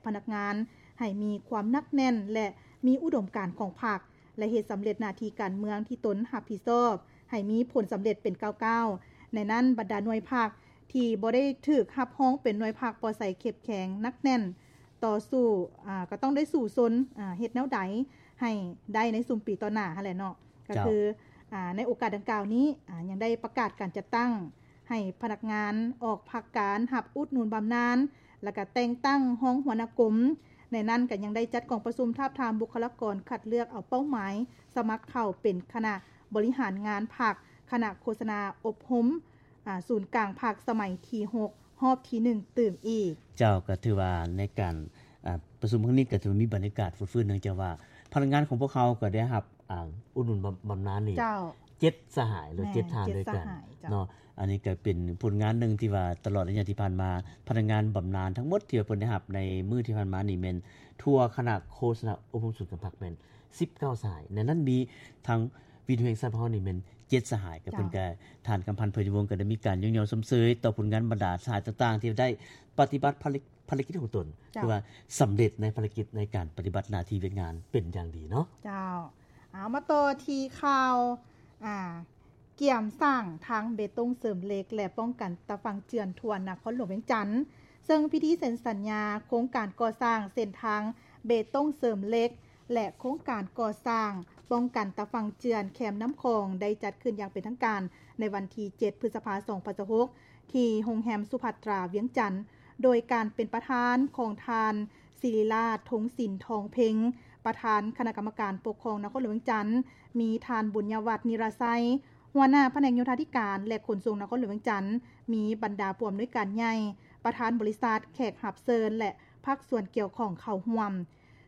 ພະນັກງານໃຫ້ມີຄວາມໜັກແໜ້ນ ແລະ ມີອຸດົມການຂອງພັກ ແລະ ເຮັດສຳເລັດໜ້າທີ່ການເມືອງທີ່ຕົນຮັບຜິດຊອບ ໃຫ້ມີຜົນສຳເລັດເປັນກ້າວໆ. ໃນນັ້ນ ບັນດາໜ່ວຍພັກທີ່ບໍ່ໄດ້ຖືກຮັບຮອງເປັນໜ່ວຍພັກປອດໃສ ເຂັ້ມແຂງ ໜັກແໜ້ນ ຕໍ່ສູ້ ອາ ກໍຕ້ອງໄດ້ສູ້ຊົນ ອາ ເຮັດແນວໃດໃຫ້ໄດ້ໃນຊຸມປີຕໍ່ໜ້າຫັ້ນແຫຼະເນາະ. ກໍຄື ເຈົ້າ ອາ ໃນໂອກາດດັ່ງກ່າວນີ້ ອາ ຍັງໄດ້ປະກາດການຈັດຕັ້ງໃຫ້ພະນັກງານອອກພັກການຮັບອຸດໜູນບຳນານ ແລ້ວກໍແຕ່ງຕັ້ງຮອງຫົວໜ້າກົມ. ໃນນັ້ນກໍຍັງໄດ້ຈັດກອງປະຊຸມທາບທາມບຸກຄະລາກອນຄັດເລືອກເອົາເປົ້າໝາຍສະໝັກເຂົ້າເປັນຄະນະບໍລິຫານງານພັກ, ຄະນະໂຄສະນາອົບຮົມ ອາ ສູນກາງພັກສະໄໝທີຫົກ ຮອບທີໜຶ່ງຕື່ມອີກ. ເຈົ້າ ກໍຖືວ່າໃນການ ອາ ປະຊຸມຄັ້ງນີ້ກໍຖືວ່າມີບັນຍາກາດຟົດຟື້ນ ເນື່ອງຈາກວ່າພະນັກງານຂອງພວກເຮົາກໍໄດ້ຮັບ ອາ ອຸດໜູນບຳ ບຳນານນີ້ ເຈົ້າ ເຈັດສະຫາຍ ຫຼື ແມ່ນ ເຈັດທ່ານດ້ວຍກັນ ເຈັດສະຫາຍ ເຈົ້າ ເນາະ. ອັນນີ້ກໍເປັນຜົນງານໜຶ່ງທີ່ວ່າຕະຫຼອດໄລຍະທີ່ຜ່ານມາ ພະນັກງານບຳນານທັງໝົດທີ່ວ່າເພິ່ນໄດ້ຮັບໃນມື້ທີ່ຜ່ານມານີ້ແມ່ນທົ່ວຄະນະໂຄສະນາອົບຮົມສູນກາງພັກແມ່ນສິບເກົ້າສະຫາຍ. ໃນນັ້ນມີທັງ ວິທຍຸແຫ່ງຊາດຂອງເຮົານີ້ແມ່ນເຈັດສະຫາຍ ກໍເພິ່ນ ເຈົ້າ ກໍ ທ່ານ ກຳພັນ ເພີຍວົງ ກໍໄດ້ມີການຍົກຍ້ອງຊົມເຊີຍຕໍ່ຜົນງານບັນດາສະຫາຍຕ່າງໆ ທີ່ໄດ້ປະຕິບັດພາລະ ພາລະກິດຂອງຕົນ ເຈົ້າ ຖືວ່າສຳເລັດໃນພາລະກິດໃນການປະຕິບັດໜ້າທີ່ວຽກງານເປັນຢ່າງດີເນາະ. ເຈົ້າ ເອົາ ມາຕໍ່ທີ່ຂ່າວ ອາ ກຽມສ້າງທາງເບຕົງເສີມເຫຼັກ ແລະ ປ້ອງກັນຕາຝັ່ງເຈື່ອນທົ່ວນະຄອນຫຼວງວຽງຈັນ ເຊິ່ງພິທີເຊັນສັນຍາໂຄງການກໍ່ສ້າງເສັ້ນທາງເບຕົງເສີມເຫຼັກ ແລະ ໂຄງການກໍ່ສ້າງປ້ອງກັນຕາຝັ່ງເຈື່ອນແຄມນ້ຳຂອງ ໄດ້ຈັດຂຶ້ນຢ່າງເປັນທາງການໃນວັນທີເຈັດ ພຶດສະພາ ສອງພັນຊາວຫົກ ທີ່ໂຮງແຮມສຸພັດຕາ ວຽງຈັນ ໂດຍການເປັນປະທານຂອງທ່ານ ສິລິລາດ ທົງສິນທອງເພັງ ປະທານຄະນະກຳມະການປົກຄອງນະຄອນຫຼວງວຽງຈັນ, ມີທ່ານ ບຸນຍະວັດ ນິລະໄຊ ຫົວໜ້າພະແນກໂຍທາທິການ ແລະ ຂົນສົ່ງນະຄອນຫຼວງວຽງຈັນ, ມີບັນດາຜູ້ອຳນວຍການໃຫຍ່, ປະທານບໍລິສັດ, ແຂກຮັບເຊີນ ແລະ ພາກສ່ວນກ່ຽວຂ້ອງເຂົ້າຮ່ວມ.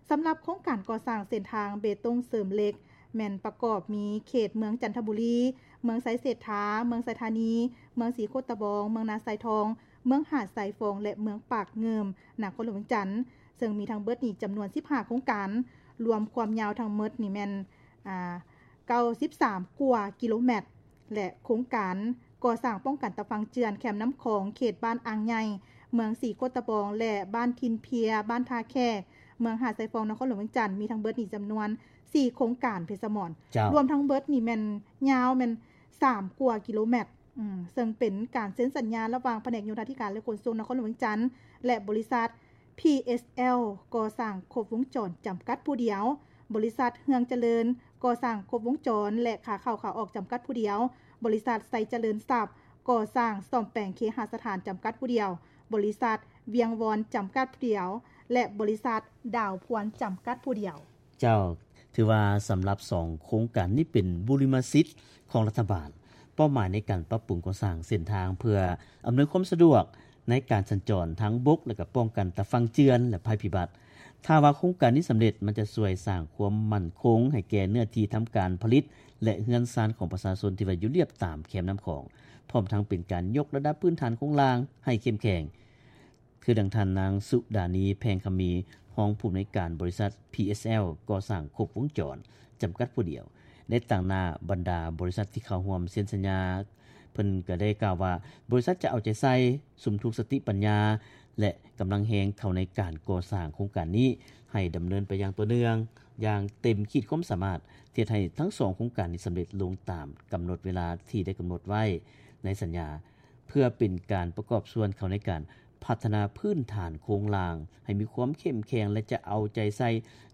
ສຳລັບໂຄງການກໍ່ສ້າງເສັ້ນທາງເບຕົງເສີມເຫຼັກ ແມ່ນປະກອບມີເຂດເມືອງຈັນທະບູລີ, ເມືອງໄຊເສດຖາ, ເມືອງໄຊທານີ, ເມືອງສີໂຄດຕະບອງ, ເມືອງນາຊາຍທອງ, ເມືອງຫາດຊາຍຟອງ ແລະ ເມືອງປາກງື່ມ ນະຄອນຫຼວງວຽງຈັນ, ເຊິ່ງມີທັງເບິດນີ້ຈຳນວນສິບຫ້າໂຄງການ, ລວມຄວາມຍາວທັງໝົດນີ້ແມ່ນ ອ່າ ເກົ້າສິບສາມກວ່າກິໂລແມັດ ແລະ ໂຄງການກໍ່ສ້າງປ້ອງກັນຕາຝັ່ງເຈື່ອນແຄມນ້ຳຂອງ ເຂດບ້ານອ່າງໃຫຍ່, ເມືອງສີໂຄດຕະບອງ ແລະ ບ້ານຖິ່ນເພຍ, ບ້ານທ່າແຂກ, ເມືອງຫາດຊາຍຟອງ ນະຄອນຫຼວງວຽງຈັນ ມີທັງເບິດນີ້ຈຳນວນສີ່ໂຄງການ ເພຊະໝອນ. ເຈົ້າ. ລວມທັງເບິດນີ້ແມ່ນຍາວແມ່ນສາມກວ່າກິໂລແມັດ, ເຊິ່ງເປັນການເຊັນສັນຍາລະຫວ່າງພະແນກໂຍທາທິການ ແລະ ຂົນສົ່ງນະຄອນຫຼວງວຽງຈັນ ແລະ ບໍລິສັດ ພີເອສແອລ ກໍ່ສ້າງຄົບວົງຈອນຈຳກັດຜູ້ດຽວ, ບໍລິສັດເຮືອງຈະເລີນ ກໍ່ສ້າງຄົບວົງຈອນ ແລະ ຂາເຂົ້າຂາອອກຈຳກັດຜູ້ດຽວ, ບໍລິສັດໄຊຈະເລີນຊັບ ກໍ່ສ້າງສ້ອມແປງເຄຫະສະຖານຈຳກັດຜູ້ດຽວ, ບໍລິສັດວຽງວອນຈຳກັດຜູ້ດຽວ ແລະ ບໍລິສັດດາວພວນຈຳກັດຜູ້ດຽວ. ເຈົ້າ, ຖືວ່າສຳລັບສອງໂຄງການນີ້ເປັນບຸລິມະສິດຂອງລັດຖະບານ, ເປົ້າໝາຍໃນການປັບປຸງກໍ່ສ້າງເສັ້ນທາງເພື່ອອຳນວຍຄວາມສະດວກໃນການສັນຈອນທາງບົກ ແລະ ກໍປ້ອງກັນຕາຝັ່ງເຈື່ອນ ແລະ ໄພພິບັດ. ຖ້າວ່າໂຄງການນີ້ສຳເລັດ, ມັນຈະຊ່ວຍສ້າງຄວາມໝັ້ນຄົງໃຫ້ແກ່ເນື້ອທີ່ທຳການຜະລິດ ແລະ ເຮືອນຊານຂອງປະຊາຊົນທີ່ວ່າຢູ່ລຽບຕາມແຄມນ້ຳຂອງ, ພ້ອມທັງເປັນການຍົກລະດັບພື້ນຖານໂຄງລ່າງໃຫ້ເຂັ້ມແຂງ. ຄືດັ່ງທ່ານນາງ ສຸດານີ ແພງຄຳມີ ຮອງຜູ້ອຳນວຍການບໍລິສັດ ພີເອສແອລ ກໍ່ສ້າງຄົບວົງຈອນຈຳກັດຜູ້ດຽວ ໄດ້ຕາງໜ້າບັນດາບໍລິສັດທີ່ເຂົ້າຮ່ວມເຊັນສັນຍາ, ເພິ່ນກໍໄດ້ກ່າວວ່າ ບໍລິສັດຈະເອົາໃຈໃສ່ສຸມທຸກສະຕິປັນຍາ ແລະ ກຳລັງແຮງເຂົ້າໃນການກໍ່ສ້າງໂຄງການນີ້ ໃຫ້ດຳເນີນໄປຢ່າງຕໍ່ເນື່ອງ, ຢ່າງເຕັມຂີດຄວາມສາມາດ, ເຮັດໃຫ້ທັງສອງໂຄງການນີ້ສຳເລັດລົງຕາມກຳນົດເວລາທີ່ໄດ້ກຳນົດໄວ້ໃນສັນຍາ. ເພື່ອເປັນການປະກອບສ່ວນເຂົ້າໃນການພັດທະນາພື້ນຖານໂຄງລ່າງໃຫ້ມີຄວາມເຂັ້ມແຂງ ແລະ ຈະເອົາໃຈໃສ່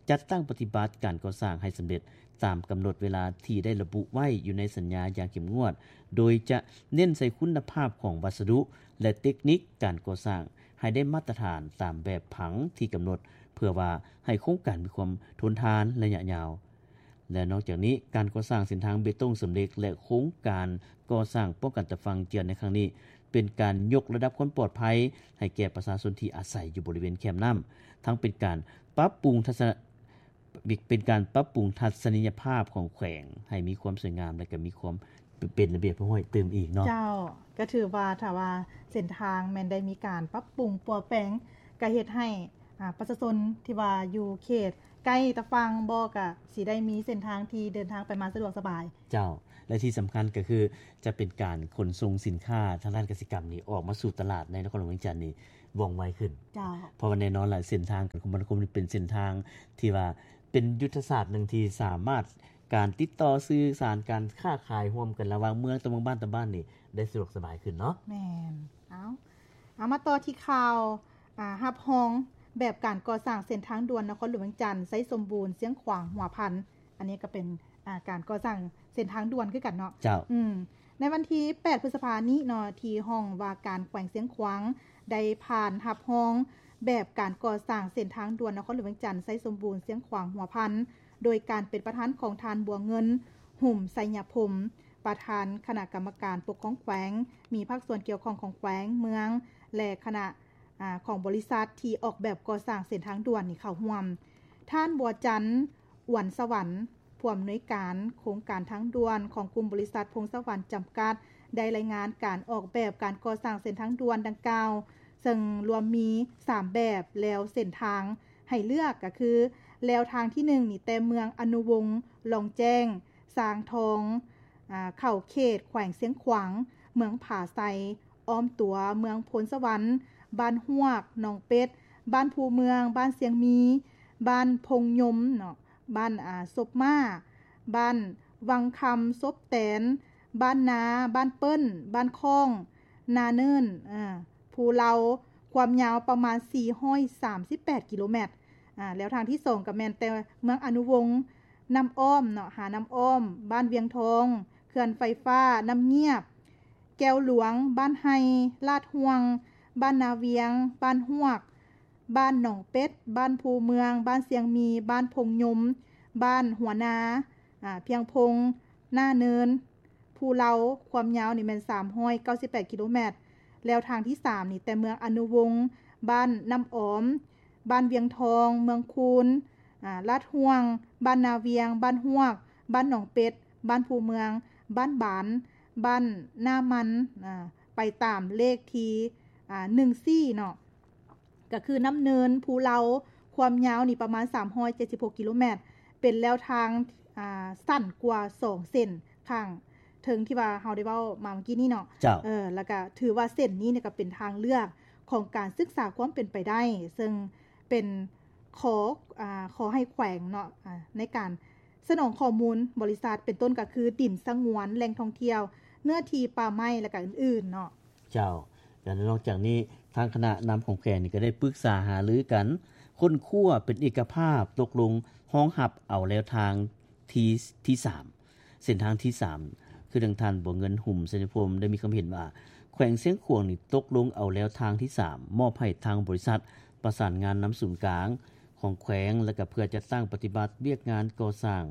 ຈັດຕັ້ງປະຕິບັດການກໍ່ສ້າງໃຫ້ສຳເລັດຕາມກຳນົດເວລາທີ່ໄດ້ລະບຸໄວ້ຢູ່ໃນສັນຍາຢ່າງເຂັ້ມງວດ, ໂດຍຈະເນັ້ນໃສ່ຄຸນນະພາບຂອງວັດສະດຸ ແລະ ເຕັກນິກການກໍ່ສ້າງໃຫ້ໄດ້ມາດຕະຖານຕາມແບບຜັງທີ່ກຳນົດ, ເພື່ອວ່າໃຫ້ໂຄງການມີຄວາມທົນທານໄລຍະຍາວ. ແລະ ນອກຈາກນີ້, ການກໍ່ສ້າງເສັ້ນທາງເບຕົງເສີມເຫຼັກ ແລະ ໂຄງການກໍ່ສ້າງປ້ອງກັນຕາຝັ່ງເຈື່ອນໃນຄັ້ງນີ້ ເປັນການຍົກລະດັບຄວາມປອດໄພໃຫ້ແກ່ປະຊາຊົນທີ່ອາໄສຢູ່ບໍລິເວນແຄມນ້ຳ, ທັງເປັນການປັບປຸງທັດສະ ເປັນການປັບປຸງທັດສະນີຍະພາບຂອງແຂວງໃຫ້ມີຄວາມສວຍງາມ ແລະ ກໍມີຄວາມ ເປັນລະບຽບຮຽບຮ້ອຍຕື່ມອີກເນາະ. ເຈົ້າ, ກໍຖືວ່າຖ້າວ່າເສັ້ນທາງແມ່ນໄດ້ມີການປັບປຸງປົວແປງ ກໍເຮັດໃຫ້ ອາ ປະຊາຊົນທີ່ວ່າຢູ່ເຂດໃກ້ຕາຝັ່ງບໍ່ ກໍຊິໄດ້ມີເສັ້ນທາງທີ່ເດີນທາງໄປມາສະດວກສະບາຍ. ເຈົ້າ, ແລະ ທີ່ສຳຄັນກໍຄືຈະເປັນການຂົນສົ່ງສິນຄ້າທາງດ້ານກະສິກຳນີ້ອອກມາສູ່ຕະຫຼາດໃນນະຄອນຫຼວງວຽງຈັນນີ້ ວ່ອງໄວຂຶ້ນ. ເຈົ້າ. ເພາະວ່າແນ່ນອນລະ ເສັ້ນທາງການຄົມມະນາຄົມນີ້ເປັນເສັ້ນທາງທີ່ວ່າເປັນຍຸດທະສາດໜຶ່ງທີ່ສາມາດ ການຕິດຕໍ່ສື່ສານ ການຄ້າຂາຍຮ່ວມກັນລະຫວ່າງເມືອງຕໍ່ເມືອງ ບ້ານຕໍ່ບ້ານນີ້ ໄດ້ສະດວກສະບາຍຂຶ້ນເນາະ. ແມ່ນ. ເອົາ ເອົາ ມາຕໍ່ທີ່ຂ່າວ ອາ ຮັບຮອງແບບການກໍ່ສ້າງເສັ້ນທາງດ່ວນນະຄອນຫຼວງວຽງຈັນ ໄຊສົມບູນ ຊຽງຂວາງ ຫົວພັນ. ອັນນີ້ກໍເປັນ ອາ ການກໍ່ສ້າງເສັ້ນທາງດ່ວນຄືກັນເນາະ. ເຈົ້າ. ອືມ ໃນວັນທີແປດ ພຶດສະພານີ້ເນາະ ທີ່ຫ້ອງວ່າການແຂວງຊຽງຂວາງ ໄດ້ຜ່ານຮັບຮອງແບບການກໍ່ສ້າງເສັ້ນທາງດ່ວນນະຄອນຫຼວງວຽງຈັນ ໄຊສົມບູນ ຊຽງຂວາງ ຫົວພັນ ໂດຍການເປັນປະທານຂອງທ່ານ ບົວເງິນ ຫຸມໄຊຍະພົມ ປະທານຄະນະກຳມະການປົກຄອງແຂວງ, ມີພາກສ່ວນກ່ຽວຂ້ອງຂອງແຂວງ, ເມືອງ ແລະ ຄະນະ ອາ ຂອງບໍລິສັດທີ່ອອກແບບກໍ່ສ້າງເສັ້ນທາງດ່ວນນີ້ເຂົ້າຮ່ວມ. ທ່ານ ບົວຈັນ ອວນສະຫວັນ ຜູ້ອຳນວຍການໂຄງການທາງດ່ວນຂອງກຸ່ມບໍລິສັດພົງສະຫວັນຈຳກັດ ໄດ້ລາຍງານການອອກແບບການກໍ່ສ້າງເສັ້ນທາງດ່ວນດັ່ງກ່າວ, ເຊິ່ງລວມມີສາມແບບແລວເສັ້ນທາງໃຫ້ເລືອກ ກໍຄືແລວທາງທີໜຶ່ງນີ້ ແຕ່ເມືອງອະນຸວົງ ລອງແຈ້ງ ຊາງທອງ ອາ ເຂົ້າເຂດແຂວງຊຽງຂວາງ, ເມືອງຜາໄຊ ອ້ອມຕົວເມືອງໂພນສະຫວັນ, ບ້ານຮວກ ໜອງເປັດ, ບ້ານພູເມືອງ, ບ້ານຊຽງມີ, ບ້ານພົງຍົມເນາະ, ບ້ານ ອາ ສົບມ້າ, ບ້ານວັງຄຳ ສົບແຕນ, ບ້ານນາ, ບ້ານເປີ້ນ, ບ້ານຄ້ອງ, ນາເນີນ, ອາ ພູເລົາ, ຄວາມຍາວປະມານສີ່ຮ້ອຍສາມສິບແປດກິໂລແມັດ. ອາ ແລ້ວທາງທີສອງກໍແມ່ນແຕ່ເມືອງອະນຸວົງ ນ້ຳອ້ອມເນາະ ຫານ້ຳອ້ອມ, ບ້ານວຽງທອງ, ເຂື່ອນໄຟຟ້ານ້ຳງຽບ, ແກ້ວຫຼວງ, ບ້ານໄຮ່, ລາດຫ່ວງ, ບ້ານນາວຽງ, ບ້ານຮວກ, ບ້ານໜອງເປັດ, ບ້ານພູເມືອງ, ບ້ານຊຽງມີ, ບ້ານພົງຍົມ, ບ້ານຫົວນາ, ອາ ພຽງພົງ, ໜ້າເນີນ, ພູເລົາ, ຄວາມຍາວນີ້ແມ່ນສາມຮ້ອຍເກົ້າສິບແປດກິໂລແມັດ. ແລ້ວທາງທີສາມນີ້ ແຕ່ເມືອງອະນຸວົງ, ບ້ານນ້ຳອອມ, ບ້ານວຽງທອງ, ເມືອງຄູນ, ອາ ລາດຫ່ວງ, ບ້ານນາວຽງ, ບ້ານຮວກ, ບ້ານໜອງເປັດ, ບ້ານພູເມືອງ, ບ້ານບານ, ບ້ານໜ້າມັນ, ອາ ໄປຕາມເລກທີ ອາ ໜຶ່ງສີ່ເນາະ ກໍຄືນ້ຳເນີນ, ພູເລົາ, ຄວາມຍາວນີ້ປະມານສາມຮ້ອຍເຈັດສິບຫົກກິໂລແມັດ, ເປັນແລວທາງ ອາ ສັ້ນກວ່າສອງເສັ້ນຂ້າງເທິງທີ່ວ່າເຮົາໄດ້ເວົ້າມາເມື່ອກີ້ນີ້ເນາະ. ເຈົ້າ. ເອີ ແລ້ວກໍຖືວ່າເສັ້ນນີ້ນີ້ກໍເປັນທາງເລືອກຂອງການສຶກສາຄວາມເປັນໄປໄດ້, ເຊິ່ງເປັນ ຂໍ ອາ ຂໍໃຫ້ແຂວງເນາະ ອາ ໃນການສະໜອງຂໍ້ມູນບໍລິສັດ ເປັນຕົ້ນກໍຄືດິນສະຫງວນ, ແຫຼ່ງທ່ອງທ່ຽວ, ເນື້ອທີ່ປ່າໄມ້ ແລະ ກະອື່ນໆເນາະ. ເຈົ້າ. ແລະ ນອກຈາກນີ້ ທາງຄະນະນຳຂອງແຂວງນີ້ກໍໄດ້ປຶກສາຫາລືກັນ, ຄົ້ນຄວ້າເປັນເອກະພາບ, ຕົກລົງຮອງຮັບເອົາແລວທາງທີ ທີສາມ ເສັ້ນທາງທີສາມ ຄືດັ່ງທ່ານ ບົວເງິນ ຫຸມໄຊຍະພົມ ໄດ້ມີຄຳເຫັນວ່າ ແຂວງຊຽງຂວາງນີ້ຕົກລົງເອົາແລວທາງທີສາມ ມອບໃຫ້ທາງບໍລິສັດປະສານງານນຳສູນກາງຂອງແຂວງ ແລະ ກໍເພື່ອຈັດຕັ້ງປະຕິບັດວຽກງານກໍ່ສ້າງ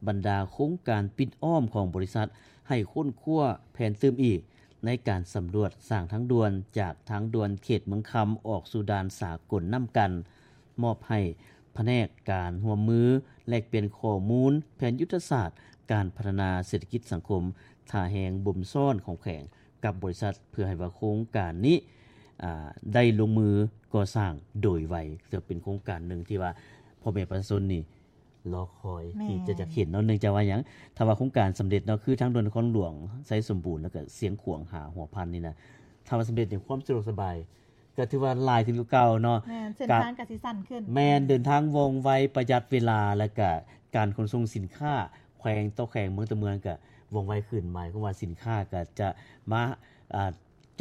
ບັນດາໂຄງການປິດອ້ອມຂອງບໍລິສັດ ໃຫ້ຄົ້ນຄວ້າແຜນຕື່ມອີກ ໃນການສຳຫຼວດສ້າງທາງດ່ວນ ຈາກທາງດ່ວນເຂດເມືອງຄຳ ອອກສູ່ດ່ານສາກົນນ້ຳກັນ. ມອບໃຫ້ພະແນກການຮ່ວມມືແລກປ່ຽນຂໍ້ມູນແຜນຍຸດທະສາດການພັດທະນາເສດຖະກິດສັງຄົມ ທ່າແຮງບົ່ມຊ້ອນຂອງແຂວງກັບບໍລິສັດ ເພື່ອໃຫ້ວ່າໂຄງການນີ້ ອາ ໄດ້ລົງມືກໍ່ສ້າງໂດຍໄວ. ເຊິ່ງເປັນໂຄງການໜຶ່ງທີ່ວ່າພໍ່ແມ່ປະຊາຊົນນີ້ ລໍຄອຍ ແມ່ນ ທີ່ຈະຢາກເຫັນເນາະ. ເນື່ອງຈາກວ່າຫຍັງ? ຖ້າວ່າໂຄງການສຳເລັດເນາະ ຄືທາງດ່ວນນະຄອນຫຼວງໄຊສົມບູນ ແລ້ວກໍຊຽງຂວາງຫາຫົວພັນນີ້ນະ, ຖ້າວ່າສຳເລັດນີ້ ຄວາມສະດວກສະບາຍກໍຖືວ່າຫຼາຍຂຶ້ນກວ່າເກົ່າເນາະ. ແມ່ນ ເສັ້ນທາງກໍຊິສັ້ນຂຶ້ນ. ແມ່ນ ເດີນທາງວ່ອງໄວ, ປະຢັດເວລາ ແລ້ວກໍການຂົນສົ່ງສິນຄ້າແຂວງຕໍ່ແຂວງ, ເມືອງຕໍ່ເມືອງ ກໍວ່ອງໄວຂຶ້ນ. ໝາຍຄວາມວ່າສິນຄ້າກໍຈະມາ ອ່າ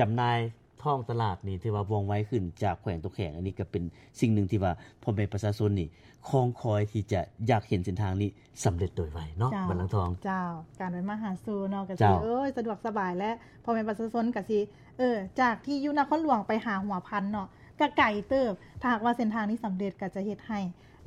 ຈຳໜ່າຍທ້ອງຕະຫຼາດນີ້ ຖືວ່າວ່ອງໄວຂຶ້ນຈາກແຂວງຕໍ່ແຂວງ. ອັນນີ້ກໍເປັນສິ່ງໜຶ່ງທີ່ວ່າພໍ່ແມ່ປະຊາຊົນນີ້ຄອງຄອຍທີ່ຈະຢາກເຫັນເສັ້ນທາງນີ້ສຳເລັດໂດຍໄວເນາະ. ເຈົ້າ ບັນລັງທອງ. ເຈົ້າ. ການໄປມາຫາສູ່ເນາະ ກໍ ເຈົ້າ ຊິ ເອີຍ ສະດວກສະບາຍ ແລະ ພໍ່ແມ່ປະຊາຊົນກໍຊິ ເອີ ຈາກທີ່ຢູ່ນະຄອນຫຼວງໄປຫາຫົວພັນເນາະ ກໍໄກເຕີບ. ຖ້າຫາກວ່າເສັ້ນທາງນີ້ສຳເລັດ ກໍຈະເຮັດໃຫ້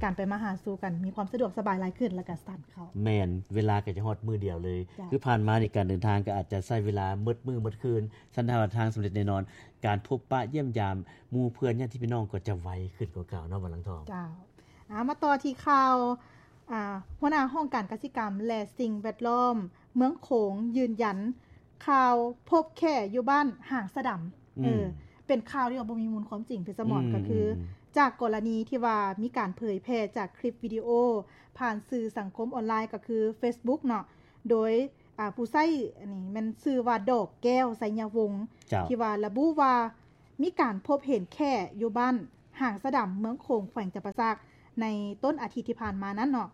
ການໄປມາຫາສູ່ກັນມີຄວາມສະດວກສະບາຍຫຼາຍຂຶ້ນ ແລ້ວກໍສັ້ນເຂົ້າ. ແມ່ນ ເວລາກໍຈະຮອດມື້ດຽວເລີຍ. ເຈົ້າ. ຄືຜ່ານມານີ້ການເດີນທາງກໍອາດຈະໃຊ້ເວລາໝົດມື້ໝົດຄືນ, ຄັນຖ້າວ່າທາງສຳເລັດແນ່ນອນ ການພົບປະຢ້ຽມຢາມໝູ່ເພື່ອນຍາດຕິພີ່ນ້ອງກໍຈະໄວຂຶ້ນກວ່າເກົ່າເນາະ ບັນລັງທອງ. ເຈົ້າ. ອາ ມາຕໍ່ທີ່ຂ່າວ ອາ ຫົວໜ້າຫ້ອງການກະສິກຳ ແລະ ສິ່ງແວດລ້ອມເມືອງໂຂງຢືນຢັນ ຂ່າວພົບແຂ້ຢູ່ບ້ານຫາງສະດຳ. ອືມ. ເອີ ເປັນຂ່າວທີ່ວ່າບໍ່ມີມູນຄວາມຈິງ ເພຊະໝອນ. ອືມ. ກໍຄື ອືມ ຈາກກໍລະນີທີ່ວ່າມີການເຜີຍແຜ່ຈາກຄລິບວິດີໂອຜ່ານສື່ສັງຄົມອອນລາຍ ກໍຄືເຟສບຸກເນາະ ໂດຍ ອາ ຜູ້ໃຊ້ອັນນີ້ແມ່ນຊື່ວ່າ ດອກແກ້ວ ໄຊຍະວົງ ເຈົ້າ ທີ່ວ່າລະບຸວ່າ ມີການພົບເຫັນແຂ້ຢູ່ບ້ານຫາງສະດຳ ເມືອງໂຂງ ແຂວງຈຳປາສັກ ໃນຕົ້ນອາທິດທີ່ຜ່ານມານັ້ນເນາະ,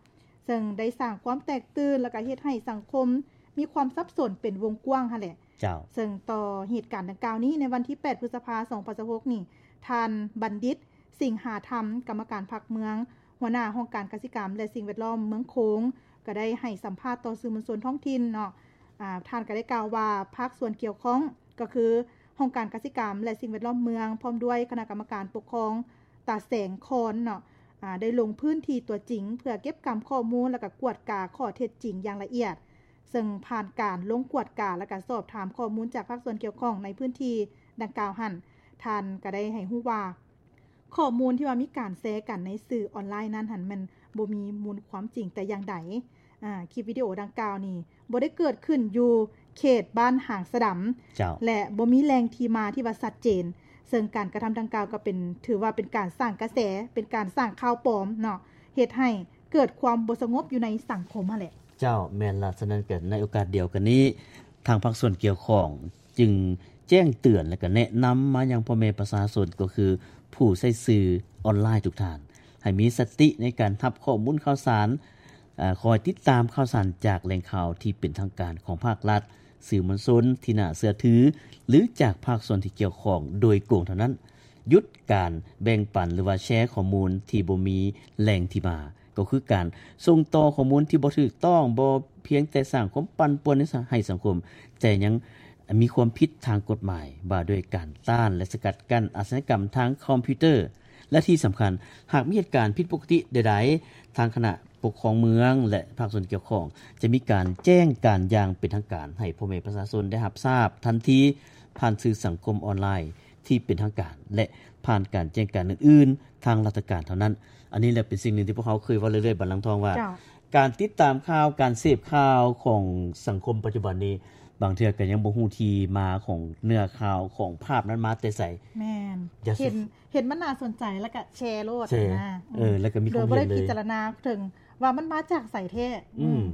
ເຊິ່ງໄດ້ສ້າງຄວາມແຕກຕື່ນ ແລະ ກະເຮັດໃຫ້ສັງຄົມມີຄວາມສັບສົນເປັນວົງກວ້າງຫັ້ນແຫຼະ. ເຈົ້າ. ເຊິ່ງຕໍ່ເຫດການດັ່ງກ່າວນີ້ ໃນວັນທີແປດ ພຶດສະພາ ສອງພັນຊາວຫົກນີ້ ທ່ານ ບັນດິດ ສິງຫາທຳ ກຳມະການພັກເມືອງ ຫົວໜ້າຫ້ອງການກະສິກຳ ແລະ ສິ່ງແວດລ້ອມເມືອງໂຂງ ກໍໄດ້ໃຫ້ສຳພາດຕໍ່ສື່ມວນຊົນທ້ອງຖິ່ນເນາະ. ອາ ທ່ານກໍໄດ້ກ່າວວ່າ ພາກສ່ວນກ່ຽວຂ້ອງ ກໍຄືຫ້ອງການກະສິກຳ ແລະ ສິ່ງແວດລ້ອມເມືອງ ພ້ອມດ້ວຍຄະນະກຳມະການປົກຄອງຕາແສງຄອນເນາະ ອາ ໄດ້ລົງພື້ນທີ່ຕົວຈິງ ເພື່ອເກັບກຳຂໍ້ມູນ ແລະ ກະກວດກາຂໍ້ເທັດຈິງຢ່າງລະອຽດ. ເຊິ່ງຜ່ານການລົງກວດກາ ແລະ ກະສອບຖາມຂໍ້ມູນຈາກພາກສ່ວນກ່ຽວຂ້ອງໃນພື້ນທີ່ດັ່ງກ່າວຫັ້ນ, ທ່ານກະໄດ້ໃຫ້ຮູ້ວ່າ ຂໍ້ມູນທີ່ວ່າມີການແຊກັນໃນສື່ອອນລາຍນັ້ນຫັ້ນ ແມ່ນບໍ່ມີມູນຄວາມຈິງແຕ່ຢ່າງໃດ. ອາ ຄລິບວິດີໂອດັ່ງກ່າວນີ້ ບໍ່ໄດ້ເກີດຂຶ້ນຢູ່ເຂດບ້ານຫາງສະດຳ ເຈົ້າ. ແລະ ບໍ່ມີແຫຼ່ງທີ່ມາທີ່ວ່າຊັດເຈນ, ເຊິ່ງການກະທຳດັ່ງກ່າວກໍເປັນ ຖືວ່າເປັນການສ້າງກະແສ, ເປັນການສ້າງຂ່າວປອມເນາະ, ເຮັດໃຫ້ເກີດຄວາມບໍ່ສະຫງົບຢູ່ໃນສັງຄົມຫັ້ນແຫຼະ. ເຈົ້າ, ແມ່ນລະ. ສະນັ້ນກໍໃນໂອກາດດຽວກັນນີ້ ທາງພາກສ່ວນກ່ຽວຂ້ອງຈຶ່ງແຈ້ງເຕືອນ ແລະ ກໍແນະນຳມາຍັງພໍ່ແມ່ປະຊາຊົນ ກໍຄືຜູ້ໃຊ້ສື່ອອນລາຍທຸກທ່ານ ໃຫ້ມີສະຕິໃນການຮັບຂໍ້ມູນຂ່າວສານ, ອາ, ຄອຍຕິດຕາມຂ່າວສານຈາກແຫຼ່ງຂ່າວທີ່ເປັນທາງການຂອງພາກລັດ, ສື່ມວນຊົນທີ່ໜ້າເຊື່ອຖື ຫຼື ຈາກພາກສ່ວນທີ່ກ່ຽວຂ້ອງໂດຍກົງເທົ່ານັ້ນ. ຢຸດການແບ່ງປັນ ຫຼືວ່າແຊຂໍ້ມູນທີ່ບໍ່ມີແຫຼ່ງທີ່ມາ, ກໍຄືການສົ່ງຕໍ່ຂໍ້ມູນທີ່ບໍ່ຖືກຕ້ອງ, ບໍ່ພຽງແຕ່ສ້າງຄວາມປັ່ນປ່ວນໃນ ໃຫ້ສັງຄົມ, ແຕ່ຍັງມີຄວາມຜິດທາງກົດໝາຍວ່າດ້ວຍການຕ້ານ ແລະ ສະກັດກັ້ນອາຊະຍາກຳທາງຄອມພິວເຕີ. ແລະ ທີ່ສຳຄັນ, ຫາກມີເຫດການຜິດປົກກະຕິໃດໆ, ທາງຄະນະປົກຄອງເມືອງ ແລະ ພາກສ່ວນກ່ຽວຂ້ອງ ຈະມີການແຈ້ງການຢ່າງເປັນທາງການໃຫ້ພໍ່ແມ່ປະຊາຊົນໄດ້ຮັບຊາບທັນທີ ຜ່ານສື່ສັງຄົມອອນລາຍທີ່ເປັນທາງການ ແລະ ຜ່ານການແຈ້ງການອື່ນໆທາງລັດຖະການເທົ່ານັ້ນ. ອັນນີ້ແຫຼະເປັນສິ່ງໜຶ່ງທີ່ພວກເຮົາເຄີຍເວົ້າເລື້ອຍໆບັດຫຼັງທອງວ່າ ເຈົ້າ. ການຕິດຕາມຂ່າວ, ການເສບຂ່າວຂອງສັງຄົມປັດຈຸບັນນີ້ ບາງເທື່ອກໍຍັງບໍ່ຮູ້ທີ່ມາຂອງເນື້ອຂ່າວ, ຂອງພາບນັ້ນມາແຕ່ໃສ. ແມ່ນ. ຢ່າ ເຫັນ ເຫັນມັນໜ້າສົນໃຈ ແລ້ວກໍແຊໂລດ ແຊ ນະ. ເອີ ແລ້ວກໍມີຄວາມເຫັນເລີຍ ໂດຍບໍ່ໄດ້ພິຈາລະນາເຖິງວ່າມັນມາຈາກໃສແທ້. ອືມ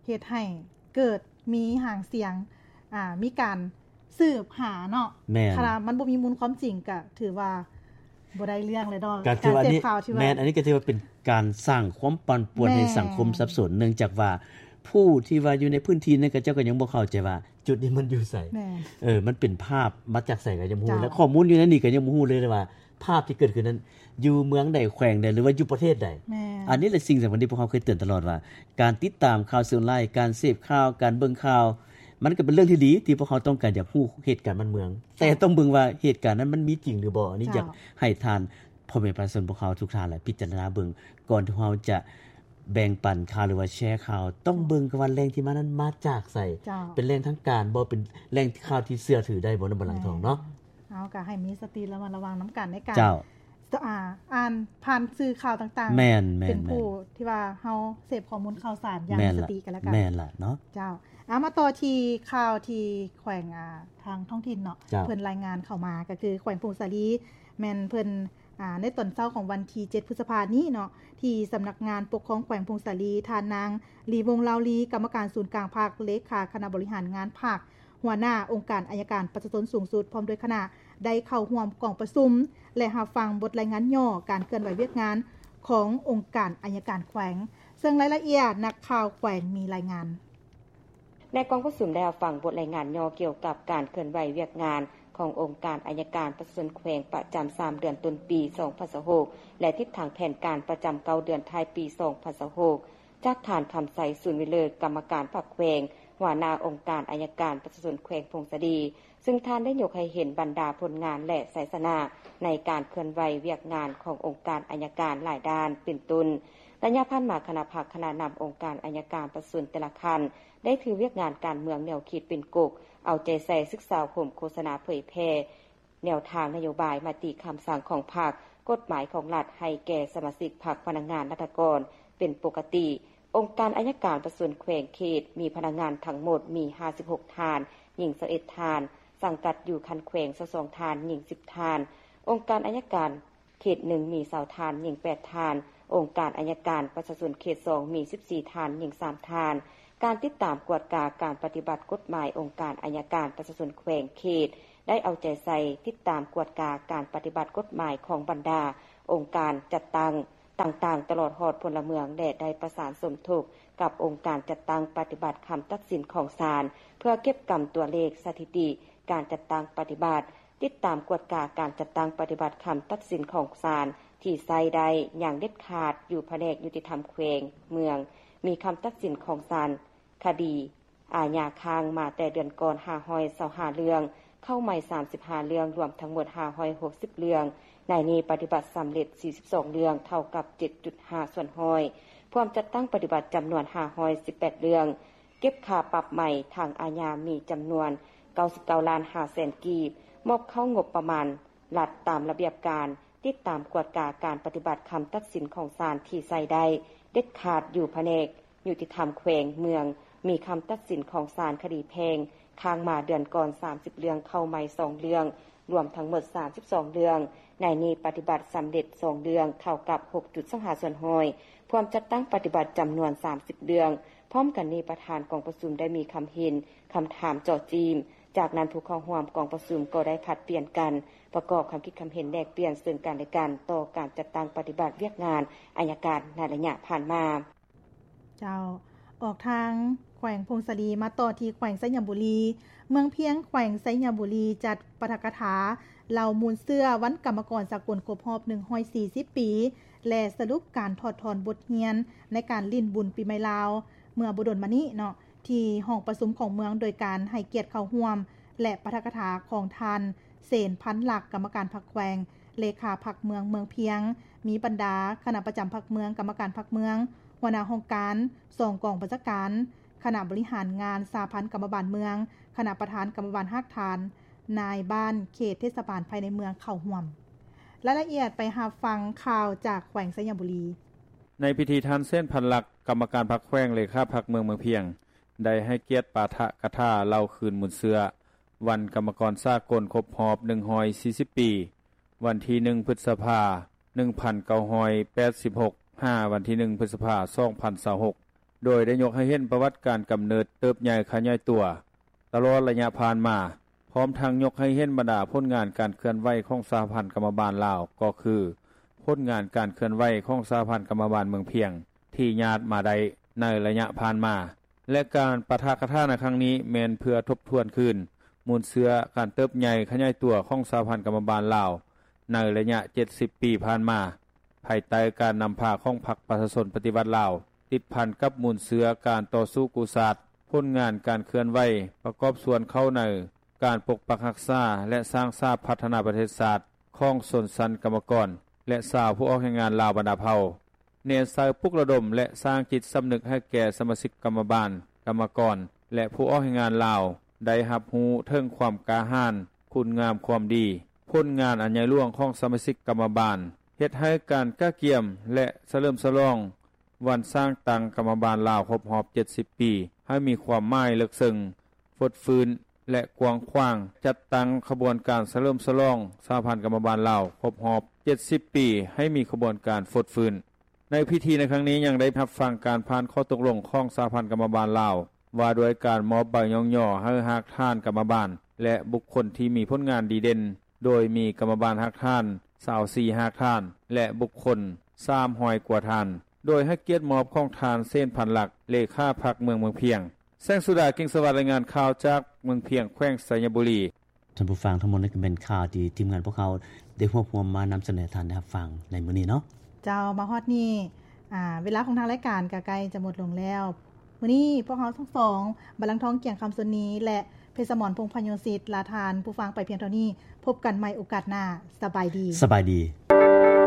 ເຮັດໃຫ້ເກີດມີຫາງສຽງ, ອ່າ, ມີການສືບຫາເນາະ. ແມ່ນ. ຄັນວ່າມັນບໍ່ມີມູນຄວາມຈິງ ກໍຖືວ່າບໍ່ໄດ້ເລື່ອງເລີຍເນາະ. ກໍຖືວ່າອັນນີ້ ການເສບຂ່າວທີ່ວ່າ ແມ່ນ, ອັນນີ້ກໍຖືວ່າເປັນການສ້າງຄວາມປັ່ນປ່ວນໃຫ້ ແມ່ນ ສັງຄົມສັບສົນ, ເນື່ອງຈາກວ່າຜູ້ທີ່ວ່າຢູ່ໃນພື້ນທີ່ນັ້ນ ເຂົາເຈົ້າກໍຍັງບໍ່ເຂົ້າໃຈວ່າຈຸດນີ້ມັນຢູ່ໃສ. ແມ່ນ. ເອີ ມັນເປັນພາບມາຈາກໃສກໍຍັງບໍ່ຮູ້. ເຈົ້າ. ແລະ ຂໍ້ມູນຢູ່ໃນນີ້ກໍຍັງບໍ່ຮູ້ເລີຍວ່າ ພາບທີ່ເກີດຂຶ້ນນັ້ນຢູ່ເມືອງໃດ, ແຂວງໃດ ຫຼືວ່າຢູ່ປະເທດໃດ. ແມ່ນ. ອັນນີ້ແຫຼະສິ່ງສຳຄັນທີ່ພວກເຮົາເຄີຍເຕືອນຕະຫຼອດວ່າ ການຕິດຕາມຂ່າວສື່ອອນລາຍ, ການເສບຂ່າວ, ການເບິ່ງຂ່າວ, ມັນກໍເປັນເລື່ອງທີ່ດີທີ່ພວກເຮົາຕ້ອງການຢາກຮູ້ເຫດການບ້ານເມືອງ, ເຈົ້າ. ແຕ່ຕ້ອງເບິ່ງວ່າເຫດການນັ້ນມັນມີຈິງຫຼືບໍ່. ອັນນີ້ ເຈົ້າ. ຢາກໃຫ້ທ່ານ ພໍ່ແມ່ປະຊາຊົນພວກເຮົາທຸກທ່ານແຫຼະ ພິຈາລະນາເບິ່ງ ກ່ອນທີ່ເຮົາຈະແບ່ງປັນຂ່າວ ຫຼືວ່າແຊຂ່າວ, ຕ້ອງເບິ່ງກ່ອນວ່າແຫຼ່ງທີ່ມານັ້ນມາຈາກໃສ, ເຈົ້າ. ເປັນແຫຼ່ງທາງການບໍ່, ເປັນແຫຼ່ງຂ່າວທີ່ເຊື່ອຖືໄດ້ບໍ່ ນຳບັດຫຼັງທອງເນາະ. ແມ່ນ. ເຮົາກໍໃຫ້ມີສະຕິລະມັດລະວັງນຳກັນໃນການ ເຈົ້າ. ອ່າ ອ່ານຜ່ານສື່ຂ່າວຕ່າງໆ. ແມ່ນໆໆ. ເປັນຜູ້ທີ່ວ່າເຮົາເສບຂໍ້ມູນຂ່າວສານຢ່າງມີສະຕິກັນແລ້ວກັນ. ແມ່ນລະເນາະ. ເຈົ້າ. ອ່າ ມາຕໍ່ທີ່ຂ່າວທີ່ແຂວງ ອ່າ ທາງທ້ອງຖິ່ນເນາະ. ເຈົ້າ. ເພິ່ນລາຍງານເຂົ້າມາ ກໍຄືແຂວງຜົ້ງສາລີ ແມ່ນເພິ່ນ ອ່າ ໃນຕອນເຊົ້າຂອງວັນທີເຈັດ ພຶດສະພານີ້ເນາະ ທີ່ສຳນັກງານປົກຄອງແຂວງຜົ້ງສາລີ, ທ່ານນາງ ລີວົງ ລາວລີ ກຳມະການສູນກາງພັກ, ເລຂາຄະນະບໍລິຫານງານພັກ, ຫົວໜ້າອົງການໄອຍະການປະຊາຊົນສູງສຸດ ພ້ອມດ້ວຍຄະນະ ໄດ້ເຂົ້າຮ່ວມກອງປະຊຸມ ແລະ ຮັບຟັງບົດລາຍງານຫຍໍ້ການເຄື່ອນໄຫວວຽກງານຂອງອົງການໄອຍະການແຂວງ. ເຊິ່ງລາຍລະອຽດ ນັກຂ່າວແຂວງມີລາຍງານ. ໃນກອງປະຊຸມໄດ້ຮັບຟັງບົດລາຍງານຫຍໍ້ກ່ຽວກັບການເຄື່ອນໄຫວວຽກງານຂອງອົງການໄອຍະການປະຊາຊົນແຂວງປະຈຳສາມເດືອນຕົ້ນປີສອງພັນຊາວຫົກ ແລະ ທິດທາງແຜນການປະຈຳເກົ້າເດືອນທ້າຍປີສອງພັນຊາວຫົກ ຈາກທ່ານ ຄຳໄຊ ສູນວິເລີດ ກຳມະການພັກແຂວງ, ຫົວໜ້າອົງການໄອຍະການປະຊາຊົນແຂວງຜົ້ງສາລີ, ເຊິ່ງທ່ານໄດ້ຍົກໃຫ້ເຫັນບັນດາຜົນງານ ແລະ ໄຊຊະນະໃນການເຄື່ອນໄຫວວຽກງານຂອງອົງການໄອຍະການຫຼາຍດ້ານ ເປັນຕົ້ນ ໄລຍະຜ່ານມາ ຄະນະພັກ, ຄະນະນຳອົງການໄອຍະການປະຊາຊົນແຕ່ລະຂັ້ນ ໄດ້ຖືວຽກງານການເມືອງແນວຄິດເປັນກົກ, ເອົາໃຈໃສ່ສຶກສາອົບຮົມ, ໂຄສະນາເຜີຍແຜ່ແນວທາງນະໂຍບາຍ, ມະຕິຄຳສັ່ງຂອງພັກ, ກົດໝາຍຂອງລັດໃຫ້ແກ່ສະມາຊິກພັກ, ພະນັກງານ, ລັດຖະກອນເປັນປົກກະຕິ. ອົງການໄອຍະການປະຊາຊົນແຂວງເຂດ ມີພະນັກງານທັງໝົດມີຫ້າສິບຫົກທ່ານ, ຍິງຊາວເອັດທ່ານ, ສັງກັດຢູ່ຂັ້ນແຂວງຊາວສອງທ່ານ, ຍິງສິບທ່ານ. ອົງການໄອຍະການ ເຂດໜຶ່ງມີຊາວທ່ານ, ຍິງແປດທ່ານ, ອົງການໄອຍະການປະຊາຊົນເຂດສອງມີສິບສີ່ທ່ານ, ຍິງສາມທ່ານ. ການຕິດຕາມກວດກາການປະຕິບັດກົດໝາຍອົງການໄອຍະການປະຊາຊົນແຂວງເຂດ ໄດ້ເອົາໃຈໃສ່ຕິດຕາມກວດກາການປະຕິບັດກົດໝາຍຂອງບັນດາອົງການຈັດຕັ້ງຕ່າງໆ ຕະຫຼອດຮອດພົນລະເມືອງ ແລະ ໄດ້ປະສານສົມທົບກັບອົງການຈັດຕັ້ງປະຕິບັດຄຳຕັດສິນຂອງສານ ເພື່ອເກັບກຳຕົວເລກສະຖິຕິການຈັດຕັ້ງປະຕິບັດ, ຕິດຕາມກວດກາການຈັດຕັ້ງປະຕິບັດຄຳຕັດສິນຂອງສານທີ່ໃຊ້ໄດ້ຢ່າງເດັດຂາດຢູ່ພະແນກຍຸຕິທຳແຂວງເມືອງ ມີຄຳຕັດສິນຂອງສານຄະດີ ອາຍາຄ້າງມາແຕ່ເດືອນກ່ອນ ຫ້າຮ້ອຍຊາວຫ້າເລື່ອງ, ເຂົ້າໃໝ່ສາມສິບຫ້າເລື່ອງ, ລວມທັງໝົດຫ້າຮ້ອຍຫົກສິບເລື່ອງ. ໃນນີ້ປະຕິບັດສຳເລັດສີ່ສິບສອງເລື່ອງ, ເທົ່າກັບເຈັດຈຸດຫ້າສ່ວນຮ້ອຍ. ພວມຈັດຕັ້ງປະຕິບັດຈຳນວນຫ້າຮ້ອຍສິບແປດເລື່ອງ, ເກັບຄ່າປັບໃໝທາງອາຍາມີຈຳນວນເກົ້າສິບເກົ້າລ້ານຫ້າແສນກີບ, ມອບເຂົ້າງົບປະມານລັດຕາມລະບຽບການ, ຕິດຕາມກວດກາການປະຕິບັດຄຳຕັດສິນຂອງສານທີ່ໃຊ້ໄດ້ເດັດຂາດຢູ່ພະແນກ ຍຸຕິທຳແຂວງເມືອງ ມີຄຳຕັດສິນຂອງສານຄະດີແພ່ງຄ້າງມາເດືອນກ່ອນສາມສິບເລື່ອງ, ເຂົ້າໃໝ່ສອງເລື່ອງ, ລວມທັງໝົດສາມສິບສອງເລື່ອງ. ໃນນີ້ປະຕິບັດສຳເລັດສອງເລື່ອງ, ເທົ່າກັບຫົກຈຸດສອງຫ້າສ່ວນຮ້ອຍ. ພວມຈັດຕັ້ງປະຕິບັດຈຳນວນສາມສິບເລື່ອງ. ພ້ອມກັນນີ້ປະທານກອງປະຊຸມໄດ້ມີຄຳເຫັນ, ຄຳຖາມເຈາະຈີ້ມ. ຈາກນັ້ນຜູ້ເຂົ້າຮ່ວມກອງປະຊຸມກໍໄດ້ຜັດປ່ຽນກັນປະກອບຄຳຄິດຄຳເຫັນແລກປ່ຽນເຊິ່ງກັນແລະກັນຕໍ່ການຈັດຕັ້ງປະຕິບັດວຽກງານໄອຍະການໃນໄລຍະຜ່ານມາ. ເຈົ້າ, ອອກທາງແຂວງຜົ້ງສາລີ ມາຕໍ່ທີ່ແຂວງໄຊຍະບູລີ. ເມືອງພຽງ ແຂວງໄຊຍະບູລີ ຈັດປາຖະກະຖາເລົ່າມູນເຊື້ອວັນກຳມະກອນສາກົນຄົບຮອບໜຶ່ງຮ້ອຍສີ່ສິບປີ ແລະ ສະຫຼຸບການຖອດຖອນບົດຮຽນໃນການຫຼິ້ນບຸນປີໃໝ່ລາວເມື່ອບໍ່ດົນມານີ້ເນາະ ທີ່ຫ້ອງປະຊຸມຂອງເມືອງ ໂດຍການໃຫ້ກຽດເຂົ້າຮ່ວມ ແລະ ປາຖະກະຖາຂອງທ່ານ ເສນ ພັນລັກ ກຳມະການພັກແຂວງ ເລຂາພັກເມືອງເມືອງພຽງ, ມີບັນດາຄະນະປະຈຳພັກເມືອງ, ກຳມະການພັກເມືອງ, ຫົວໜ້າຫ້ອງການ, ສອງກອງບັນຊາການ, ຄະນະບໍລິຫານງານສະຫະພັນກຳມະບານເມືອງ, ຄະນະປະທານກຳມະບານຮາກຖານ, ນາຍບ້ານເຂດເທດສະບານພາຍໃນເມືອງເຂົ້າຮ່ວມ. ລາຍລະອຽດໄປຮັບຟັງຂ່າວຈາກແຂວງໄຊຍະບູລີ. ໃນພິທີ ທ່ານ ເສນ ພັນລັກ ກຳມະການພັກແຂວງ ເລຂາພັກເມືອງເມືອງພຽງ ໄດ້ໃຫ້ກຽດປາຖະກະຖາເລົ່າຄືນມູນເຊື້ອ ວັນກຳມະກອນສາກົນຄົບຮອບໜຶ່ງຮ້ອຍສີ່ສິບປີ ວັນທີໜຶ່ງ ພຶດສະພາ ໜຶ່ງພັນເກົ້າຮ້ອຍແປດສິບຫົກ ຫາວັນທີໜຶ່ງ ພຶດສະພາ ສອງພັນຊາວຫົກ ໂດຍໄດ້ຍົກໃຫ້ເຫັນປະຫວັດການກຳເນີດ, ເຕີບໃຫຍ່, ຂະຫຍາຍຕົວຕະຫຼອດໄລຍະຜ່ານມາ, ພ້ອມທັງຍົກໃຫ້ເຫັນບັນດາຜົນງານການເຄື່ອນໄຫວຂອງສະຫະພັນກຳມະບານລາວ, ກໍຄືຜົນງານການເຄື່ອນໄຫວຂອງສະຫະພັນກຳມະບານເມືອງພຽງ ທີ່ຍາດມາໄດ້ໃນໄລຍະຜ່ານມາ. ແລະ ການປາຖະກະຖາໃນຄັ້ງນີ້ແມ່ນເພື່ອທົບທວນຄືນມູນເຊື້ອການເຕີບໃຫຍ່ຂະຫຍາຍຕົວຂອງສະຫະພັນກຳມະບານລາວໃນໄລຍະເຈັດສິບປີຜ່ານມາ, ພາຍໃຕ້ການນຳພາຂອງພັກປະຊາຊົນປະຕິວັດລາວ, ຕິດພັນກັບມູນເຊື້ອການຕໍ່ສູ້ກູ້ຊາດ, ຜົນງານການເຄື່ອນໄຫວປະກອບສ່ວນເຂົ້າໃນການປົກປັກຮັກສາ ແລະ ສ້າງສາພັດທະນາປະເທດຊາດຂອງຊົນຊັ້ນກຳມະກອນ ແລະ ຊາວຜູ້ອອກແຮງງານລາວບັນດາເຜົ່າ. ແນໃສ່ປຸກລະດົມ ແລະ ສ້າງຈິດສຳນຶກໃຫ້ແກ່ສະມາຊິກກຳມະບານ, ກຳມະກອນ ແລະ ຜູ້ອອກແຮງງານລາວ ໄດ້ຮັບຮູ້ເຖິງຄວາມກ້າຫານ, ຄຸນງາມຄວາມດີ, ຜົນງານອັນໃຫຍ່ຫຼວງຂອງສະມາຊິກກຳມະບານ, ເຮັດໃຫ້ການກະກຽມ ແລະ ສະເຫຼີມສະຫຼອງວັນສ້າງຕັ້ງກຳມະບານລາວຄົບຮອບເຈັດສິບປີ ໃຫ້ມີຄວາມໝາຍເລິກເຊິ່ງ, ຟົດຟື້ນ ແລະ ກວ້າງຂວາງ, ຈັດຕັ້ງຂະບວນການສະເຫຼີມສະຫຼອງສະຫະພັນກຳມະບານລາວຄົບຮອບເຈັດສິບປີ ໃຫ້ມີຂະບວນການຟົດຟື້ນ. ໃນພິທີໃນຄັ້ງນີ້ຍັງໄດ້ຮັບຟັງການຜ່ານຂໍ້ຕົກລົງຂອງສະຫະພັນກຳມະບານລາວ ວ່າດ້ວຍການມອບໃບຍ້ອງຍໍໃຫ້ຮາກຖານກຳມະບານ ແລະ ບຸກຄົນທີ່ມີຜົນງານດີເດັ່ນ, ໂດຍມີກຳມະບານຮາກຖານຊາວສີ່ຮາກຖານ ແລະ ບຸກຄົນສາມຮ້ອຍກວ່າທ່ານ, ໂດຍໃຫ້ກຽດມອບຂອງທ່ານ ເສນ ພັນລັກ ເລຂາພັກເມືອງເມືອງພຽງ. ແສງສຸດາ ກິ່ງສະຫວັດ ລາຍງານຂ່າວຈາກເມືອງພຽງ ແຂວງໄຊຍະບູລີ. ທ່ານຜູ້ຟັງ, ທັງໝົດນັ້ນກໍແມ່ນຂ່າວທີ່ທີມງານພວກເຮົາໄດ້ຮວບຮວມມານຳສະເໜີທ່ານໄດ້ຮັບຟັງໃນມື້ນີ້ເນາະ. ເຈົ້າ, ມາຮອດນີ້, ອາ, ເວລາຂອງທາງລາຍການກໍໃກ້ຈະໝົດລົງແລ້ວ. ມື້ນີ້ພວກເຮົາທັງສອງ, ບັນລັງທອງ ກຽງຄຳ ຊົນນີ ແລະ ເພັດສະໝອນ ພົງພະໂຍສິດ ລາທ່ານຜູ້ຟັງໄປພຽງເທົ່ານີ້. ພົບກັນໃໝ່ໂອກາດໜ້າ. ສະບາຍດີ. ສະບາຍດີ.